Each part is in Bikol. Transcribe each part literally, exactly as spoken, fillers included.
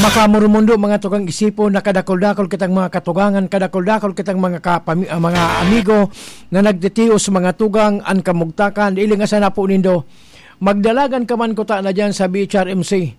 Kamurumundo, mga tugang, isipon na kadakul-dakul kitang mga katugangan, kadakul-dakul kitang mga kapami-, ah, mga amigo na nagtitios, mga tugang, an kamugtakan, ilingasan na po nindo. Magdalagan ka man kuta na dyan sa B H R M C.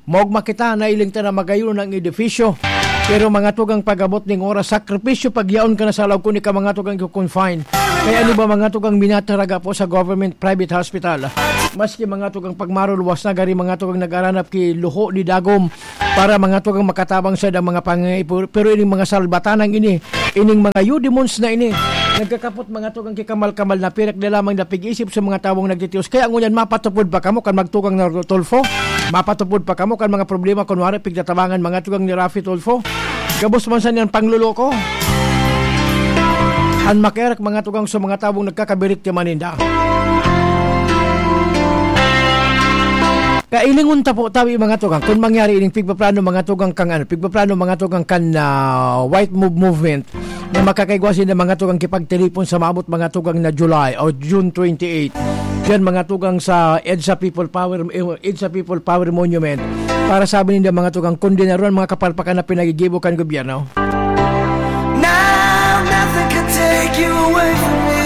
Maog makita na iling ta na magayon ang edifisyo. Pero mga tugang, pag-abot ning oras, sakripisyo pagyaon ka na sa laog kun ika mga tugang iko-confine. Kaya ano ba mga tugang minataraga po sa government private hospital? Maski mga tugang pagmaruluwas na gari mga tugang nagaranap ki luho ni dagom para mga tugang makatabang sa dang mga pangangaipo. Pero ining mga salbatanang ini, ining mga eudemons na ini, nagkakapot mga tugang kikamal-kamal na pirak na lamang na pig-isip sa mga tawong nagtitios. Kaya ngunyan, mapatupod pa kamo kan magtugang na Tulfo? Mapatupod pa kamo kan mga problema kunwari pigtatabangan mga tugang ni Raffy Tulfo? Gabos man sa niyan pangloloko. An makiarak mga tugang sa mga tawong nagkakabirit ka maninda. Kailingon ta po tawi mga tugang, kung mangyari ining pigpaplano mga tugang kang ano, pigpaplano mga tugang kan, ah, White Move Movement, na makakaigwa sinda mga tugang kipagtiripon sa maabot mga tugang na July o June twenty-eight. Diyan mga tugang sa EDSA People Power, eh, EDSA People Power Monument. Para sabi ninda mga tugang, kondinaron mga kapalpakan na pinagigibo kan gobyerno. Now nothing can take you away from me.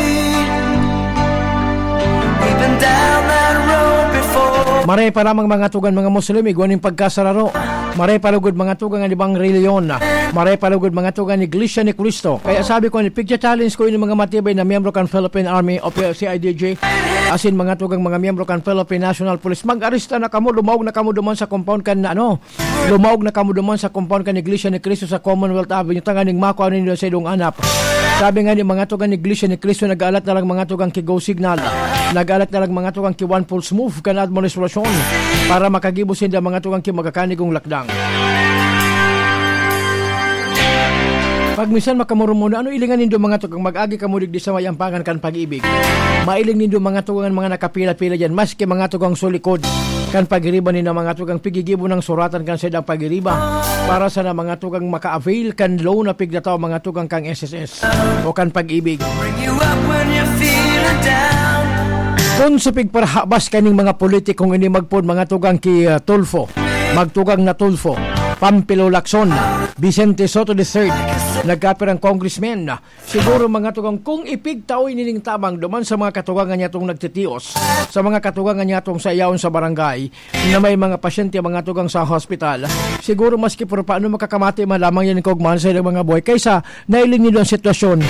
We've been down that road before. Maray pa lamang mga tugang mga Muslim, igwa ning pagkasararo. Maray pa lugod mga tugang an ibang relihiyon. Maray pa lugod mga tugang Iglesia ni Cristo. Kaya sabi ko, ni pigcha-challenge ko ini mga matibay na miyembro kan Philippine Army o P-, C I D G, asin mga tugang mga miyembro kan Philippine National Police. Mag-aresta na kamo, lumaog na kamo duman sa compound kan, ano, lumaog na kamo duman sa compound kan Iglesia ni Cristo sa Commonwealth Avenue, tanganing makua nindo sa idong anap. Sabi nga ni mga tugang Iglesia ni Cristo, nag-aalat na lang mga tugang ki go signal. Nag-aalat na lang mga tugang ki one pulse move kan administrasyon para makagibo sinda mga tugang ki magakanigong lakdang. Pag minsan makamurumuna, ano ilingan nindo mga tugang, mag-agi kamo digdi sa may ampangan kan Pag-ibig. Mailing nindo mga tugang, mga nakapila-pila diyan, maski mga tugang sulikod kan pagiriba nindo mga tugang, pigigibo ng suratan kan saindang pagiriba para sa na mga tugang maka-avail kan loan na pigdataw mga tugang kang S S S o kan Pag-ibig. Bring you up when you're feeling down. Kun sa pigparahabas kaning mga politikong ini magpod mga tugang ki, ah, Tulfo, magtugang na Tulfo, Pampilo Lacson, Vicente Sotto the third, nagkapirang congressman, siguro mga tugang kung ipigtaoy nining tabang duman sa mga katugangan niya tong nagtitios, sa mga katugangan niya tong sa iyaon sa barangay, na may mga pasyente, mga tugang sa hospital. Siguro maski por paano makakamati man lamang yan kung man sa ilang mga buhay kaysa nailing nindo ang sitwasyon.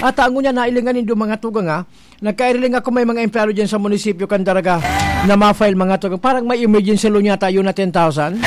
At ang unya, nailingan nindo mga tugang, ha? Nagkairiling ako may mga empleyado dyan sa munisipyo kan Daraga na ma-file mga tugang. Parang may emergency loan yata yun na ten thousand.